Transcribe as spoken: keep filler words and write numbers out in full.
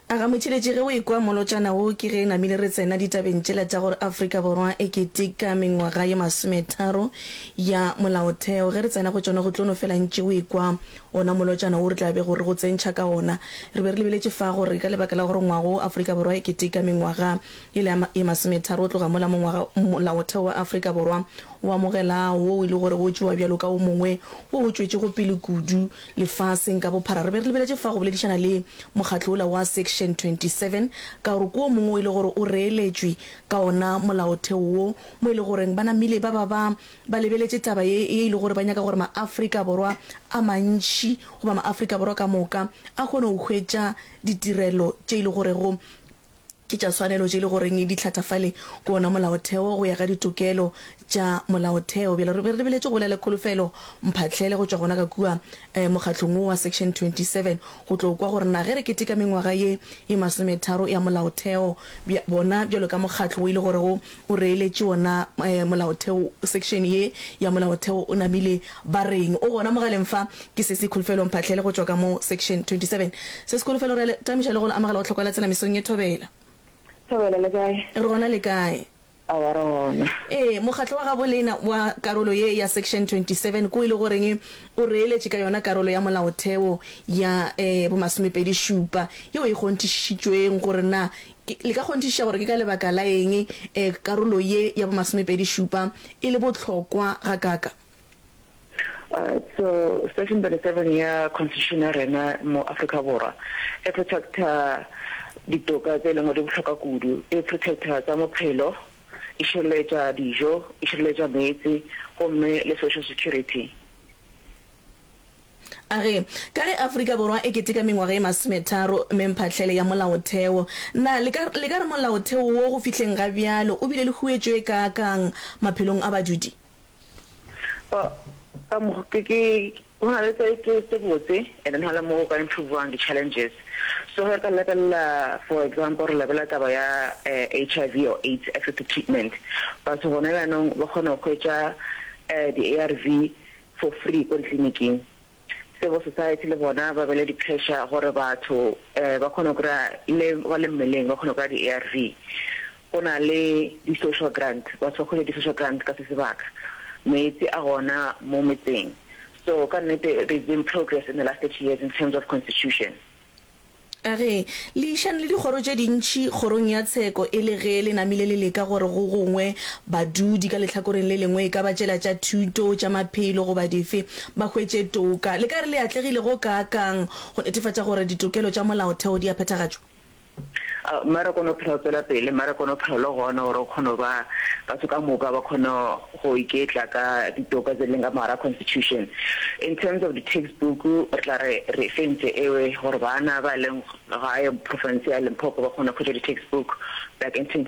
A ga motheeletši ge o ekwa molotšana wo ke ge namile re tsena ditabeng tšela tša gore Afrika Borwa e keteka mengwaga ye masometharo ya molaotheo. Ge re tsena go tšona go tlo no fela ntše o ekwa ona molotšana wo re tla bego re go tsentšha ka ona. Re be re lebeletše fa gore ka lebaka la gore ngwaga wo Afrika Borwa e keteka mengwaga yela ye masometharo go tloga mola mongwaga molaotheo wa Afrika Borwa o amogela wo e le gore o tšewa bjalo ka o mongwe wo o tšwetšego pele kudu lefaseng ka bophara. Re be re lebeletše fa go boledišana le mokgatlo wola wa Section twenty-seven ka gore ke o mongwe o e le gore o reeletšwe ka ona molaotheo wo, mo e le goreng ba namile ba ba ba ba lebeletše taba ye ye e le gore ba nyaka gore maAfrika Borwa a mantši goba maAfrika Borwa ka moka a kgone go hwetša ditirelo tše e le gorego ke tša tshwanelo tše e le goreng di hlathafale ke wona molaotheo go ya ka ditokelo tša molaotheo. Bjale re be re lebeletše go bolela le Kholofelo Mphahlele go tšwa gona ka kua mokgahlong wo wa Section twenty-seven go tlo kwa gore na ge re keteka mengwaga ye ye masometharo ya molaotheo bja bona bjalo ka mokgatlo wo e le gorego o reeletše wona molaotheo section ye ya molaotheo o namile ba reng. O gona mogaleng fa ke Sesi Kholofelo Mphahlele go tšwa ka mo Section twenty-seven. Sesi Kholofelo re a le tamiša le go le amogela go tlhokwa la tsela mesong ye thobela. Thobela le kae? Re gona le kae? Aowa re gona. Ee, mokgatlo wa gabo lena wa karolo ye ya Section twenty-seven ko e le goreng o reeletše ka yona karolo ya molaotheo ya bo masomepedi šupa yeo e kgonthišitšweng gore na le ka kgonthišiša gore ke ka lebaka la eng karolo ye ya bo masomepedi šupa e le bohlokwa gakaaka. Alright, so section thirty-seven ya constitution ya rena mo Afrika Borwa e protecta ditoka tse e leng gore di bohlokwa kudu. E protecta tsa bophelo, e šireletša dijo, e šireletša meetse gomme le social security. A re, Ka ge Afrika Borwa e keteka mengwaga ye masometharo memphahlele ya Molaotheo, na le ka le ka re Molaotheo wo go fihleng ga bjalo o bile le huetšo e kaakang maphelong a badudi? Well, ka mo ke ke go na le tse tse tse botse and then go na le mo go ka improve-wang di-challenges. So ge re ka lebelela for example re lebelela taba ya H I V or AIDS access to treatment, batho gona bjanong ba kgona go hwetša di-A R V for free ko ditleliniking. Civil society le bona ba bele di-pressure gore batho ba kgone go kry-a le ba le mmeleng ba kgone go kry-a di-A R V. Go na le di-social grant, batho ba hwetša di-social grant ka se sebaka. Meetse a gona mo metseng. So ka nnete there's been progress in the last thirty years in terms of constitution. A re, Le išane le dikgoro tše dintši kgorong ya tsheko e le ge le namile le leka gore go gongwe badudi ka lehlakoreng le lengwe e ka ba tšela tša thuto, tša maphelo goba dife ba hwetše toka. Le ka re le atlegile go kaakang go netefatša gore ditokelo tša molaotheo di a phethagatšwa? Mmereko o no phela o tswela pele, mmereko o no phela o le gona gore o kgone go ba batho ka moka ba kgone go iketla ka ditoka tse leng ka mogare ga constitution. In terms of di-textbook re tla re re fentse ewe gore bana ba leng gae province ya Limpopo ba kgone go hwetša di-textbook back in twenty